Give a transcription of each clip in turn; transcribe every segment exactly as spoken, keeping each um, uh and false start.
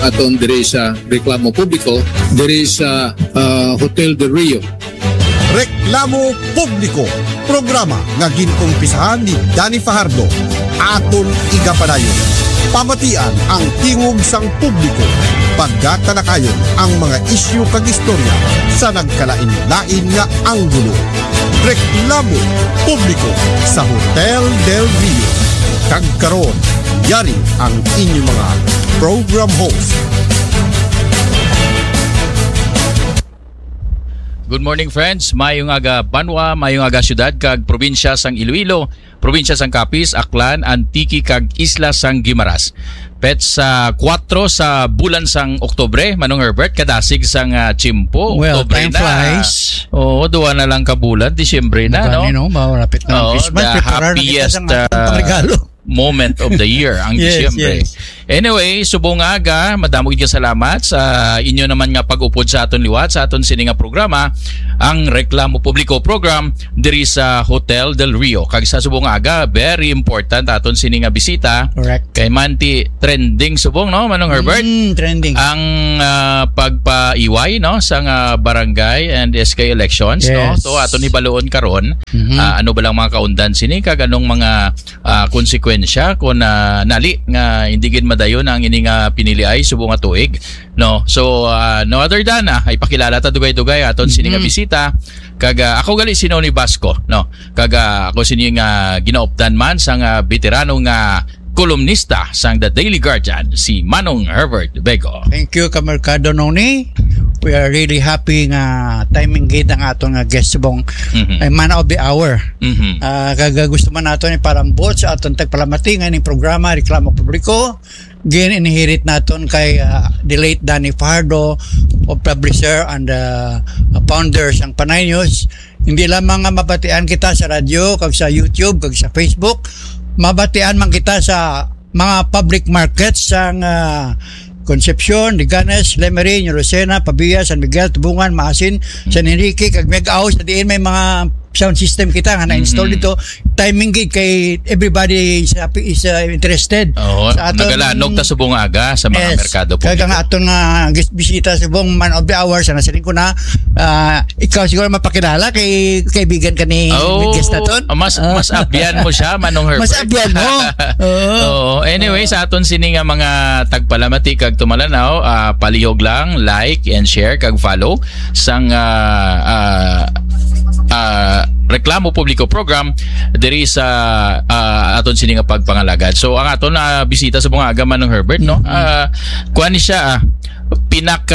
aton diri sa reklamo publiko diri sa, ah, Hotel Del Rio. Reklamo Publiko, programa nga gin-umpisahan ni Danny Fajardo. Aton igapadayon, pamatian ang tingog sang publiko, pagkatalakayon ang mga isyu kag istorya sa nagkalain-lain nga anggulo. Reklamo Publiko sa Hotel Del Rio. Kag karon, yari ang inyong mga program host. Good morning, friends. Mayong aga, banwa, mayong aga, syudad kag probinsya sang Iloilo, probinsya sang Capiz, Aklan, Antique kag Isla sang Guimaras. Petsa kuwatro sa bulan sang Oktubre, Manong Herbert, kadasig sang, ah, tiyempo. Well, Oktubre time na. Flies. Oo, duwa na lang ka bulan, Disyembre na, no? Mabani, no? Malapit na ang Oo, Christmas. The Preparar na kita happiest, sa mga ah, pangregalo. Moment of the year, ang Yes, Disyembre. Yes. Anyway, subong aga, madamo gid nga salamat sa inyo naman nga pag-upod sa aton liwat, sa aton sini nga programa, ang Reklamo Publiko Program, diri sa Hotel Del Rio. Kag sa subong aga, very important aton sini nga bisita. Correct. Kay manti trending subong, no, Manong Herbert? Mm, trending. Ang, ah, pagpaiway, no, sa nga barangay and S K elections, no? Yes. So, aton hibaluon karon, Mhm. ah, ano ba lang mga kaundan sini, kag anong mga ah, konsekwensya kon, ah, nali nga hindi gid madayon ang ini nga piniliay subong nga tuig, no? So, ah, no other than, ah, ipakilala ta dugay-dugay aton sini nga Mm-hmm. bisita. Kag, ah, ako gali si Noni Basco, no? Kag, ah, ako sini nga ginaupdan man sang, ah, veterano nga kolumnista sang The Daily Guardian, si Manong Herbert Bego. Thank you, Kamerkado Noni. We are really happy nga timing gid ang aton nga guest subong Mhm. ay man of the hour. Mhm. Ah, kag gusto man naton iparambot sa aton tagpalamati nga ining programa, Reklamo Publiko, gin-inherit naton kay, ah, the late Danny Fajardo, of publisher and, ah, founder sang Panay News. Hindi lamang nga mabatian kita sa radyo, kag sa YouTube, kag sa Facebook, mabatian man kita sa mga public markets sang, ah, Concepcion, Leganes, Lemery, New Lucena, Pavia, San Miguel, Tubungan, Maasin, San Enrique, kag Miag-ao, sa diin may mga sound system kita nga na-install Mm-hmm. dito. Timing gid kay everybody is happy, is, uh, interested Oo, sa aton nagalanog ta subong aga sa mga Yes. merkado Kaya publiko. Nga aton nga guest bisita subong man of the hour sa nasiling ko na, ah, ikaw siguro mapakilala kay kaibigan ka ni Oh, guest naton. Mas, Ah. Mas abyan mo siya, Manong Herbert. Mas abyan mo. Oo. Oo. Anyway, Oo. Sa aton sini nga mga tagpalamati kag tumalanaw, ah, palihog lang, like and share kag follow sang, ah, ah, ah, Reklamo Publiko Program diri sa, ah, aton sini nga pagpangalagad. So, ang aton na bisita subong aga, Manong Herbert, no? Mm-hmm. Ah, kuwan ni siya, ah,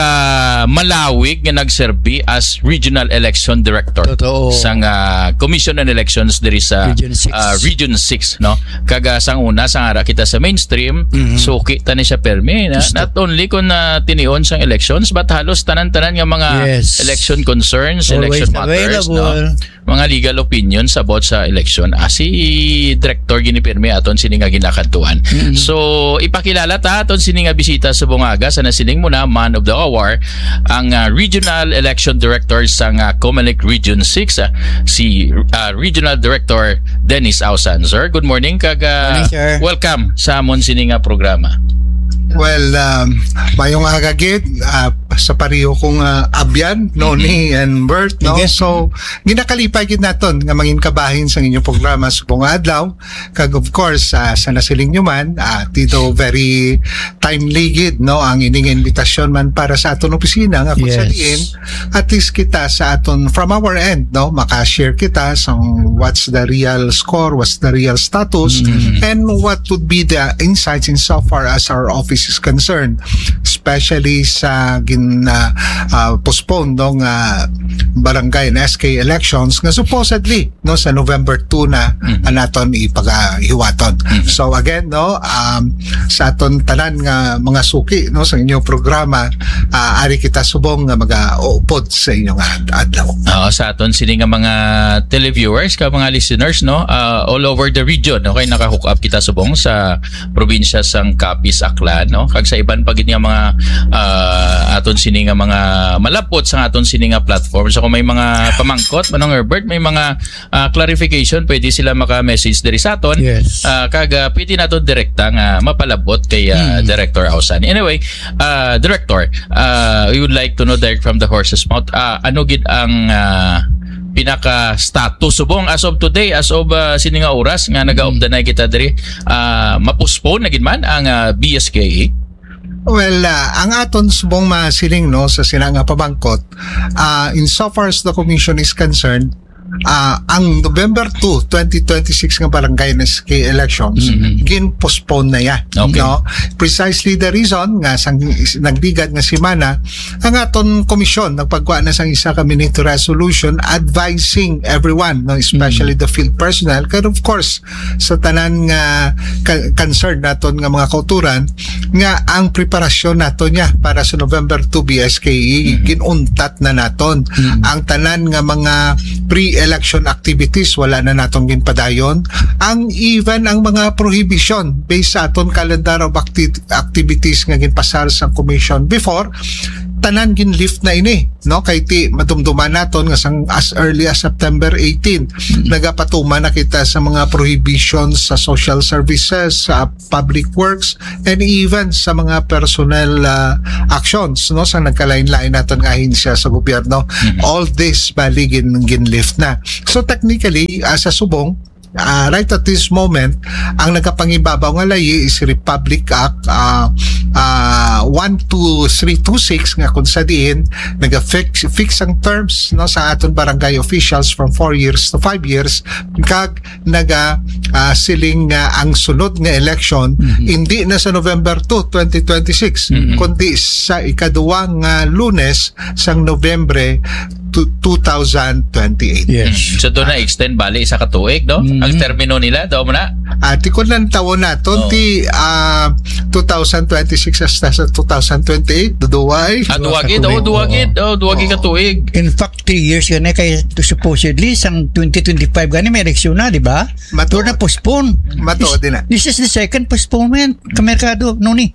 pinakamalawig nga nagserbi as Regional Election Director Totoo. Sang, ah, Commission on Elections diri sa, Region six. Ah, Region six, no? Kag, ah, sang una, sang ara kita sa mainstream, Mhm. suki ta ni siya permi, na, Gusto. Not only kung, ah, tinion sang elections, but halos tanan-tanan nga mga Yes. election concerns, Always election matters, no? Available. Mga legal opinions about sa election. Ah, si Director gini permi aton sini nga ginakadtuan. Mm-hmm. So, ipakilala ta aton sini nga bisita subong aga sa nasiling mo na man of the hour, ang, ah, Regional Election Director sang, ah, Comelec Region six, ah, si, ah, Regional Director Dennis Ausan. Sir, good morning kag, ah, Morning, sir. Welcome sa amon sini nga programa. Well, um, mayong aga gid, ah, sa pareho kong, ah, abyan, no, Mm-hmm. ni and Bert, no? Sige. So, ginakalipay gid naton nga mangin kabahin sa inyong programa subong nga adlaw. Kag of course, ah, sa nasiling nyo man, ah, dito very timely gid, no, ang ining invitasyon man para sa aton opisina nga kung sa Yes. diin, at least kita sa aton, from our end, no, maka-share kita sa what's the real score, what's the real status, Mm. and what would be the insights in so far as our office is concerned, especially sa gin, ah, ah, postpone, no, nga barangay and S K elections nga supposedly, no, sa November two na Mm. ang naton ipagahiwaton. Mm. So again, no, um, sa aton tanan nga mga suki, no, sa inyong programa, ah, ari kita subong nga magaupod sa inyong ad- adlaw. Oo, sa aton sini nga mga televiewers, ka mga listeners, no, ah, all over the region, okay, naka-hook up kita subong sa probinsya sang Capiz, Aklan, no, kag sa iban pa gid nga mga, ah, aton sini nga mga malapot sa aton sini nga platform. platforms. So kung may mga pamangkot, Manong Herbert, may mga ah, clarification, pwede sila maka-message diri sa aton. Yes. Ah, kag ah, pwede nato direkta nga mapalabot kay ah, Mm. Director Ausan. Anyway, ah, Director, ah, we would like to know direct from the horse's mouth, ah, ano gid ang ah, pinaka-status subong as of today, as of ah, sini nga oras nga nagaupdanay kita diri, ah, ma-postpone na gid man ang ah, B S K E? Well, ah, ang aton subong masiling, no, sa sina nga pamangkot, ah, in so far as the commission is concerned, ah, ang November two, twenty twenty-six nga barangay S K elections, Mhm. gin-postpone na yan, Okay. no? Precisely the reason nga sang is-, nagligad nga semana, ang aton komisyon nagpagkuha na sang isa ka minute resolution advising everyone, no, especially Mhm. the field personnel, and of course, sa tanan nga ka-, concern naton nga mga kauturan, nga ang preparasyon naton niya para sa November two B S K E, Mhm. ginuntat na naton. Mhm. Ang tanan nga mga pre-election activities, wala na naton ginpadayon. Ang, even ang mga prohibition based sa aton calendar of acti-, activities nga ginpasar sa commission before, tanan gin-lift na ini, no? Kay ti madumduman naton nga sang as early as September eighteen, Mm. nagapatuman na kita sa mga prohibitions sa social services, sa public works, and even sa mga personnel, ah, actions, no, sa nagkalain-lain naton nga ahensya sa gobyerno. Mhm. All this bali gin, gin-lift na. So technically, ah, sa subong, ah, right at this moment, ang nagapangibabaw nga layi is Republic Act, ah, ah, one two three two six, nga kung sa diin naga-fix, fix ang terms, no, sa aton barangay officials from four years to five years, kag naga, ah, siling nga ang sunod nga election Mhm. hindi na sa November two, twenty twenty-six, Mhm. kundi sa ikaduwa nga Lunes sang Nobyembre two thousand twenty-eight. Yes. Mm. So, doon na extend bali isa ka tuig, no? Mm. Ang termino nila, daw mo na? Ah, ti kun lang tawon naton, Oh. ti, ah, two thousand twenty-six hasta sa two thousand twenty-eight, duduway. Ah, duwagi, Duwa ka oh, tuig. duwagi, Oo. oh, duwagi ka Oo. tuig. In fact, three years gani kay supposedly sang twenty twenty-five gani may eleksyon na, di ba? Mato. Pero na-postpone. Mato This, din na. this is the second postponement. Kamerkado, no ni?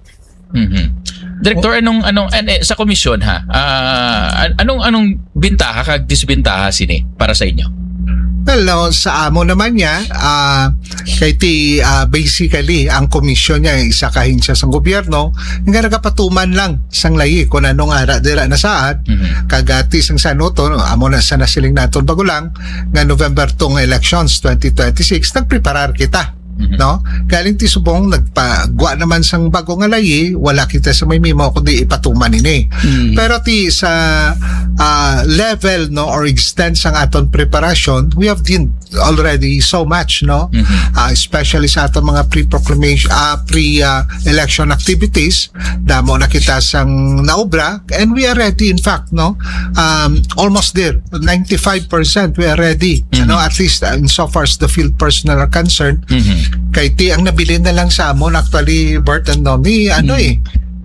Mhm. Director, anong, anong, an-, eh, sa komisyon, ha? Ah, an-, anong, anong bintaha kag disbintaha sini para sa inyo? Well, no, sa amo naman niya, ah, kay ti, ah, basically, ang komisyon niya ay isa ka ahensya sa gobyerno nga nagapatuman lang sang layi kung anong ara dira na saad, Mhm. kag, ah, ti sang sanuto, no, amo na sa nasiling naton bago lang nga November two nga elections twenty twenty-six, nagpreparar kita. Mhm. No? Galing ti subong nagpagwa naman sang bago nga layi, wala kita sa may memo kundi ipatuman ini. Mm. Pero ti sa, ah, level, no, or extent sang aton preparasyon, we have done already so much, no? Mhm. Ah, especially sa aton mga pre-proclamation, ah, pre, ah, election activities, damo na kita sang naobra, and we are ready, in fact, no? Um, almost there, ninety-five percent we are ready, Mhm. ano, at least, uh, in so far as the field personnel are concerned. Mhm. Kay ti ang nabilin na lang sa amon, actually, Bert and Nomi, ano Mhm. eh,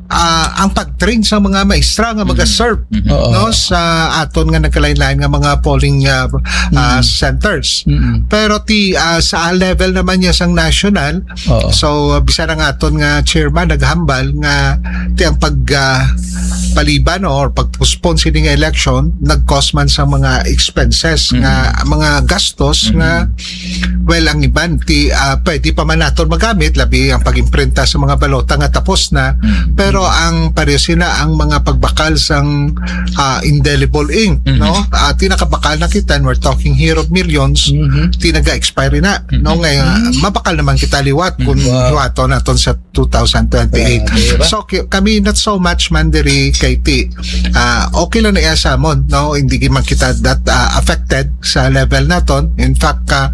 ah, ang pag-train sa mga maestra nga Mhm. mag-serve, Mhm. Oo. no, sa aton nga nagkalain-lain nga mga polling, ah, ah, Mhm. centers. Mhm. Pero ti, ah, sa level naman niya sang national, Oo. So, uh, bisan ang aton nga chairman naghambal nga ti ang pag, ah, paliban or pag-postpone sini nga election nag-cause man sa mga expenses Mhm. nga, mga gastos Mhm. nga, well, ang iban ti, ah, pwede pa man naton magamit, labi ang pag-imprinta sa mga balota nga tapos na, Mhm. pero ang pareho sina ang mga pagbakal sang, ah, indelible ink, Mhm. no? Ah, ti nakabakal na kita, and we're talking here of millions, Mhm. ti naga-expire na, no? Mhm. Nga, Mhm. mabakal naman kita liwat kung Mhm. Wow. liwaton naton sa two thousand twenty-eight. Ah, di ba? So, ki-, kami not so much man diri kay ti, ah, okay lang na iya sa amon, no? Hindi man kita that, ah, affected sa level naton. In fact, ah,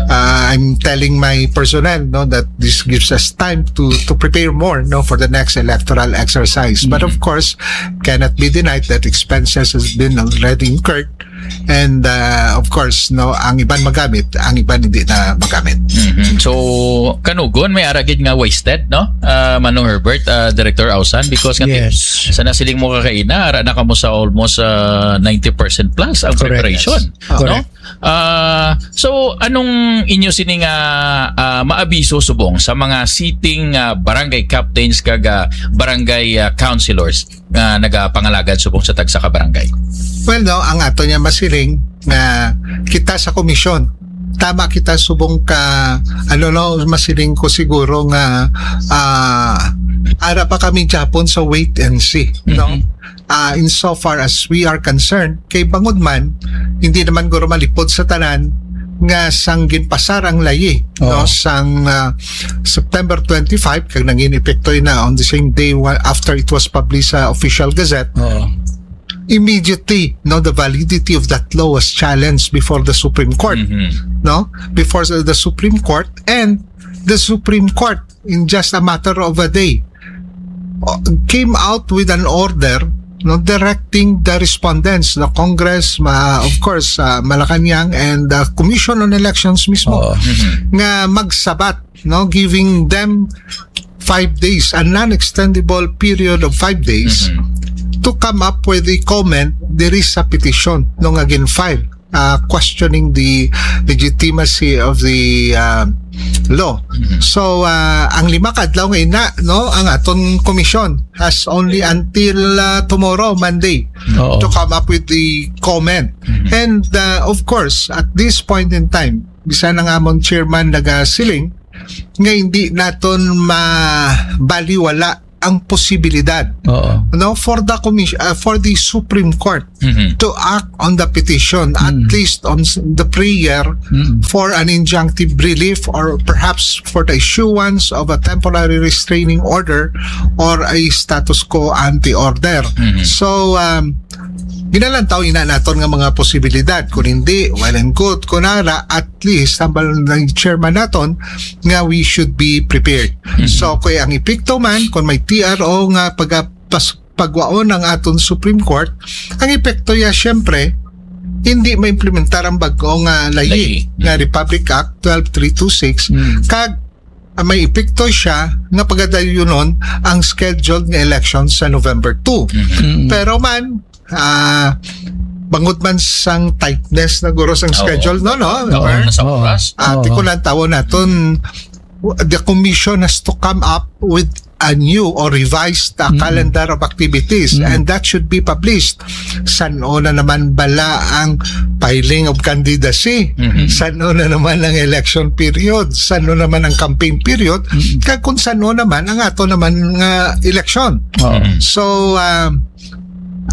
ah, I'm telling my personnel, no, that this gives us time to, to prepare more, no, for the next electoral exercise. But of Mhm. course, cannot be denied that expenses has been already incurred. And, uh, of course, no, ang iban magamit, ang iban hindi na magamit. Mhm. So, kanugon, may ara gid nga wasted, no? Uh, Manong Herbert, uh, Director Ausan, because nga Yes. sa nasiling mo kakaina, ara na kamo sa almost, uh, ninety percent plus ang Correct. preparation, Yes. no? Correct. Uh, so, anong inyo sini nga, uh, maabiso subong sa mga sitting, uh, barangay captains kag, uh, barangay, uh, councilors nga nagapangalagad subong sa tagsa ka barangay? Well, no, ang ato niya masiling nga kita sa komisyon, tama kita subong ka, ano, no, masiling ko siguro nga, ah, ara pa kami Japon sa wait and see, no? Mhm. Ah, insofar as we are concerned, kay bangod man, hindi naman guro malipod sa tanan nga sang ginpasar ang layi, no? Oo. Sang, ah, September twenty-five, kag nangin epekto na on the same day wa-, after it was published sa Official Gazette, Oo. immediately, no, the validity of that law was challenged before the Supreme Court, Mhm. no? Before the, the Supreme Court, and the Supreme Court, in just a matter of a day, uh, came out with an order, no, directing the respondents, the Congress, ma-, of course, uh, Malacañang, and the Commission on Elections mismo, Oo. Mhm. nga magsabat, no, giving them five days, a non-extendable period of five days Mhm. to come up with a comment diri sa petition, no, nga gin-file, uh, questioning the legitimacy of the, uh, law. Mhm. So, uh, ang lima ka adlaw nga ina, no, ang aton komisyon has only until, uh, tomorrow, Monday, Oo. to come up with the comment. Mhm. And, uh, of course, at this point in time, bisan ang amon chairman nagasiling nga hindi naton mabaliwala ang posibilidad, Oo. no, for the commission, uh, for the Supreme Court Mhm. to act on the petition, at Mm. least on s-, the prayer Mm. for an injunctive relief or perhaps for the issuance of a temporary restraining order or a status quo ante order. Mhm. So, um, ginalantaw ina naton nga mga posibilidad. Kung hindi, well and good. Kung ara, at least, hambal ng chairman naton nga we should be prepared. Mhm. So, kung ang epekto man, kung may T R O nga pagapas-, pagwaon ang aton Supreme Court, ang epekto ya, siyempre, hindi maimplementar ang bag-o nga layi Layi. nga Republic Act twelve three two six, Mm. kag, ah, may epekto siya nga pagadayunon ang scheduled nga election sa November two. Mhm. Mm. Pero man, ah, bangod man sang tightness na guro sang Oo. schedule, no, no? Oo, Or, nasa Oo. oras. Ah, Oo. tikulan tawon naton, the commission has to come up with a new or revised, uh, Mm. calendar of activities, Mm. and that should be published. San-o na naman bala ang filing of candidacy? Mm. San-o na naman ang election period? San-o naman ang campaign period? Mm. Kag kung san-o naman ang ato naman nga election? Oo. Mm. So, um,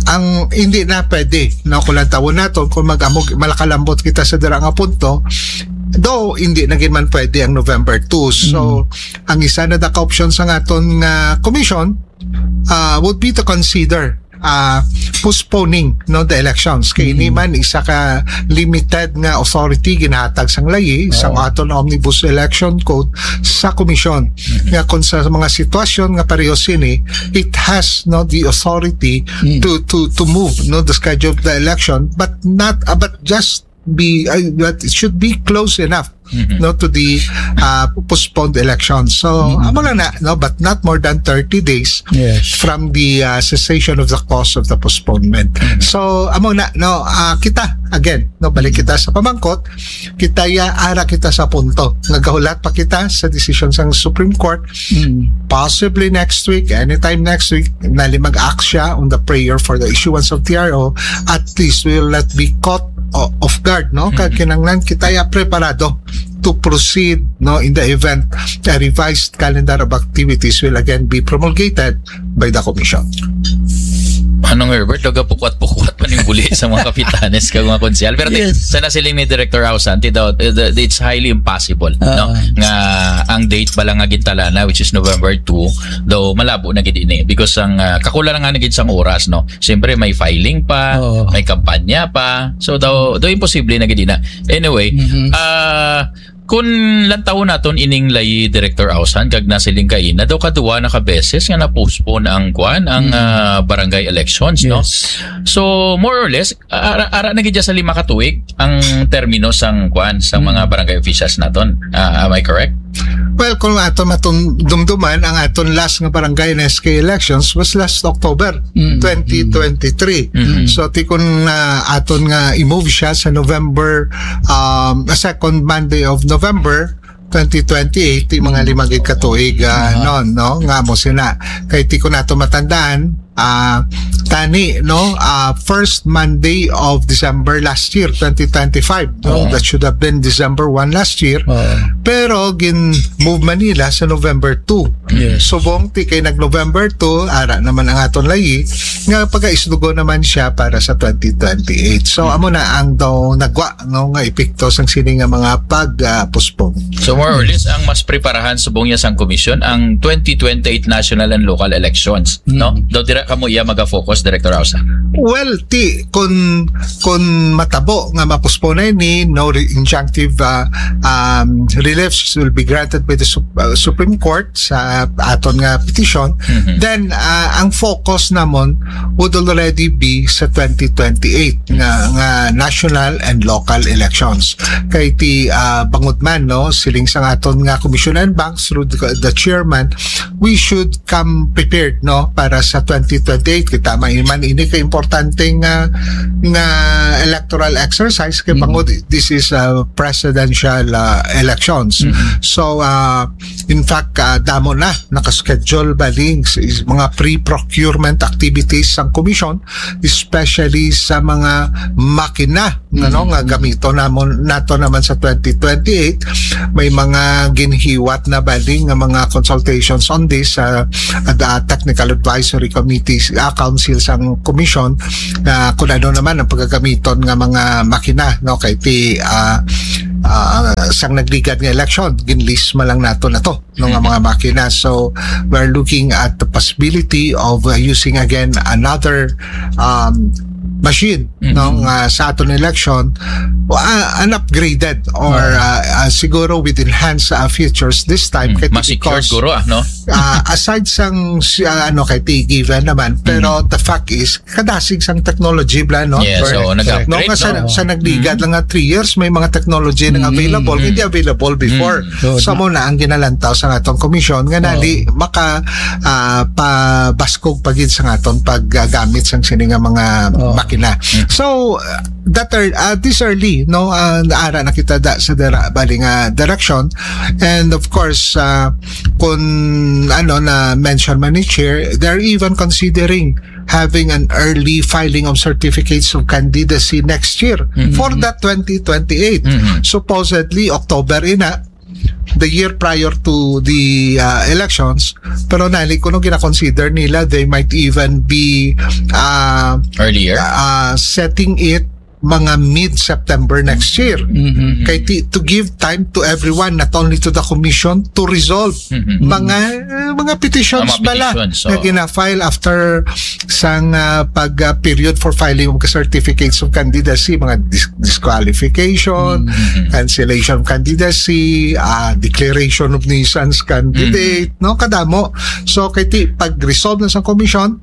ang hindi na pwede, no, kung lantawon naton, kung mag-amog, malakalambot kita sa dira nga punto, though hindi na gid man pwede ang November two. So, Mm. ang isa na da ka option sa aton nga commission, ah, would be to consider, ah, postponing, no, the elections. Kay ini Mm. man isa ka limited nga authority ginahatag sang layi, sang Oo. aton omnibus election code sa commission. Mm. Nga kung sa mga sitwasyon nga pareho sini, it has, no, the authority Mm. to, to, to move, no, the schedule of the election, but not, ah, but just be, uh, but it should be close enough, Mhm. no, to the, uh, postponed election. So, Mhm. amo lang na, no, but not more than thirty days Yes. from the, uh, cessation of the cause of the postponement. Mhm. So, amo na, no, ah, kita, again, no, balik kita sa pamangkot, kita ya, ara kita sa punto. Nagahulat pa kita sa desisyon sang Supreme Court. Mm. Possibly next week, anytime next week, nali mag-act siya on the prayer for the issuance of T R O. At least we will not be caught o-, off guard, no? Kag Mm. kinahanglan kita ya preparado to proceed, no, in the event a revised calendar of activities will again be promulgated by the commission. Ano nga, Herbert, nagapukwat-pukwat pa ning buli sa mga kapitanes kag mga konsehal. Pero ti-, Yes. sa nasiling ni Director Ausan, ti daw, eh, the, it's highly impossible, Ah. no? Nga ang date pala nga gintalana, which is November two, daw malabo na gid ini. Because ang, ah, kakulangan na gid sang oras, no? Siyempre, may filing pa, Oo. may kampanya pa. So, daw, daw imposible na gid na. Anyway, Mhm. ah, Kung lantawon naton ining lay Director Ausan, kag nasiling kaina daw kaduwa na ka beses nga na-postpone ang kwan, ang, Mm. ah, barangay elections, no? Yes. So, more or less, ara, ara na gid sa lima ka tuig ang termino sang kwan, sa Mm. mga barangay officials naton. Ah, am I correct? Well, kung aton matum-, dumduman, ang aton last nga barangay and S K elections was last October Mm. twenty twenty-three. Mm. So, ti kun, ah, aton nga i-move siya sa November, um, second Monday of November, twenty twenty-eight, ti mga lima gid ka tuig, ah, Aha. non, no? Nga mo sina. Kay ti ko nato matandaan, ah, tani, no, ah, first Monday of December last year, twenty twenty-five, no? Oo. That should have been December one last year. Oo. Pero gin-move man nila sa November two. Yes. Subong ti kay nag-November two, ara naman ang aton layi, nga pagaisdugo naman siya para sa twenty twenty-eight. So, Hmm. amo na ang daw nagwa, no, nga epekto sang sini nga mga pag, ah, postpone. So, more or less, ang mas preparahan subong niya sang komisyon, ang twenty twenty-eight national and local elections, no? Mm. Daw dira kamo iya maga-focus, Director Ausa? Well, ti, kun, kun matabo nga mapospone ni, no re-, injunctive, ah, um, reliefs will be granted by the Sup-, ah, Supreme Court sa aton nga petition, Mhm. then, ah, ang focus namon would already be sa twenty twenty-eight nga, nga national and local elections. Kay ti, ah, bangod man, no, siling sang aton nga Commission on Banks through the, the chairman, we should come prepared, no, para sa twenty twenty-eight. Kita man, man ini ka importante nga, nga electoral exercise kay Mm. bangod this is a presidential, ah, elections. Mm. So, ah, in fact, ah, damo na nakaschedule baling s-, is mga pre-procurement activities sang komisyon, especially sa mga makina, nga, no, Mm. nga gamito namon, nato naman sa twenty twenty-eight. May mga ginhiwat na baling nga mga consultations on this, ah, at, ah, technical advisory committees, ah, council sang komisyon, na kung ano naman ang pagagamiton nga mga makina, no, kay ti, ah, ah, sang nagligad nga eleksyon, ginlisma lang nato na to, no, nga mga makina. So, we're looking at the possibility of, uh, using again another, um, machine, no, Mhm. nga sa aton election, uh, an upgraded or, Oo. uh, uh, siguro with enhanced, uh, features this time. Mm, Kay mas secured because, guro, ah, no? uh, aside sang, si-, uh, ano, kay ti given naman, pero Mm. the fact is, kadasig sang technology bala, no? Yes, Correct. so, nag-upgrade, No, nga sa, no? sa nagligad Mm. lang nga three years, may mga technology nang Mm. available, Mm. hindi available before. Mm. So, So, na- mo na ang ginalantaw sa atong komisyon nga Ah. nali maka, ah, pabaskog pa gid sa aton paggamit sang sini nga mga Oo. makina. Mm. So, uh, that are, uh, this early, no, uh, naara na kita da, sa dira, bali nga direction. And of course, uh, kung ano na mention man ni Chair, they're even considering having an early filing of certificates of candidacy next year Mhm. for the twenty twenty-eight. Mhm. Supposedly, October ina, the year prior to the, uh, elections. Pero nali, kuno gina-consider nila, they might even be, uh, Earlier? uh, setting it mga mid-September next year. Mhm. Kay ti-, to give time to everyone, not only to the commission, to resolve Mhm. mga, uh, mga petitions Mga bala petitions, na oo. gina-file after sang, ah, pag, ah, period for filing of certificates of candidacy, mga dis-, disqualification, Mhm. cancellation of candidacy, ah, declaration of nuisance candidate, Mhm. no? Kadamo. So, kay ti-, pag-resolve na sa commission,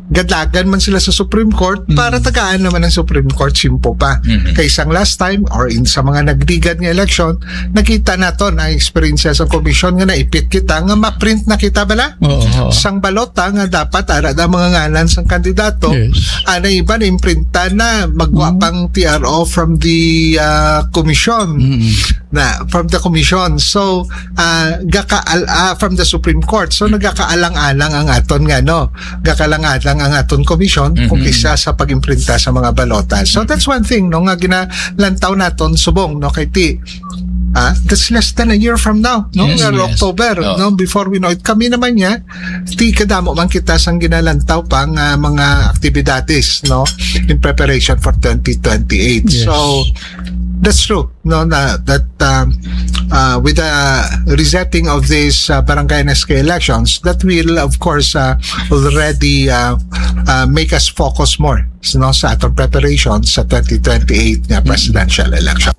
gadlagan man sila sa Supreme Court para Mhm. tagaan naman ang Supreme Court, simple pa. Mhm. Kay sang last time or in sa mga nagligad nga election, nakita naton ang eksperyensya sa commission nga naipit kita nga ma-print na kita bala. Oo, oo. Sang balota nga dapat ara na mga ngalan sang kandidato, Yes. ana iban imprinta na, magwa Mm. pang T R O from the, ah, commission. Mm. Na, from the commission. So, ah, gaka-, al-, ah, from the Supreme Court. So, nagakaalang-alang ang aton nga, no? Gakaalang-alang ang aton commission kung Mhm. kisa sa pag-imprinta sa mga balota. So, Mhm. that's one thing, no, nga ginalantaw naton subong, no, kay ti, ah, that's less than a year from now, no? Yes, Nga yes. October, Oh. no? Before we know it, kami naman niya, ti kadamo man kita sang ginalantaw pa nga mga aktibidades, no, in preparation for twenty twenty-eight. Yes. So, that's true, no, na, that, um, uh, with the resetting of this, uh, barangay and S K elections, that will, of course, uh, already, uh, uh, make us focus more, no, sa atong preparation sa twenty twenty-eight nga Mm. presidential election.